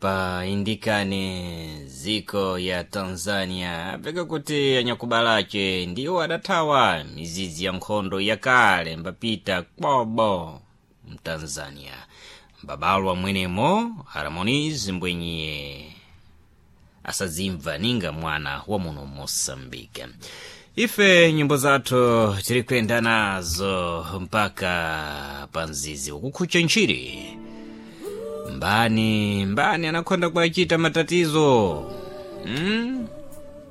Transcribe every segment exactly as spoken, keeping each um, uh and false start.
Pa indikane ziko ya Tanzania apeka kuti anyakubalache ndiwo adathawa mizizi ya nkhondo yakale mbapita kwobo mtanzania mbabalwa mwenemo Harmonize mbwenyiye asazimva ninga mwana wa muno Moçambique. Ife nyimbo zathu tiri kuyenda nazo mpaka pa mzizi ukukhucha ntchiri. Mbani mbani anakhonda kuachita matatizo, hmm?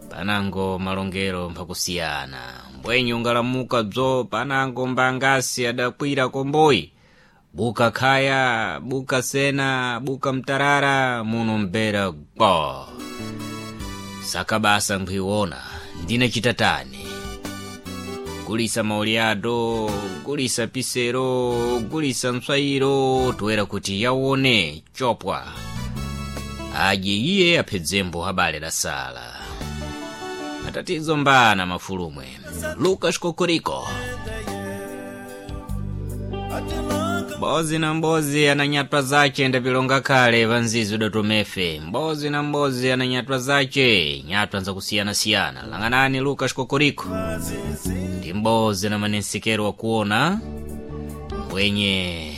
Panango malongero mphakusiyana mbwenye ungalamuka bzo panango mbangasi adakwira komboyi buka khaya buka sena buka mtarara muno mbera gbo saka basa nkhuiwona ndine chitatani gulisa mauliado gulisa pisero gulisa mswayiro toera kuti yawone chopwa aje iye aphedzembo habale la sala matatizo mbana mafulumwe. Lucas Kokoriko mbozi na mbozi ananyatwa zace ndapilonga khale vanzizi udatomefe mbozi na mbozi ananyatwa zace nyatwa nzakusiyanasiyana lang'anani Lucas Kokoriko ndi mbozi na manensekero wakuona mbwenye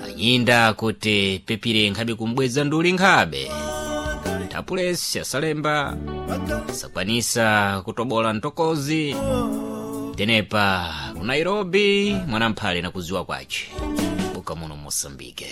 anyinda kuti pepire nkhabe kumbweza nduli nkhabe tapulesi asalemba sakwanisa kutobola ntokozi tenepa ku Nairobi mwanamphale nakuziwa kwace buka muno Moçambique.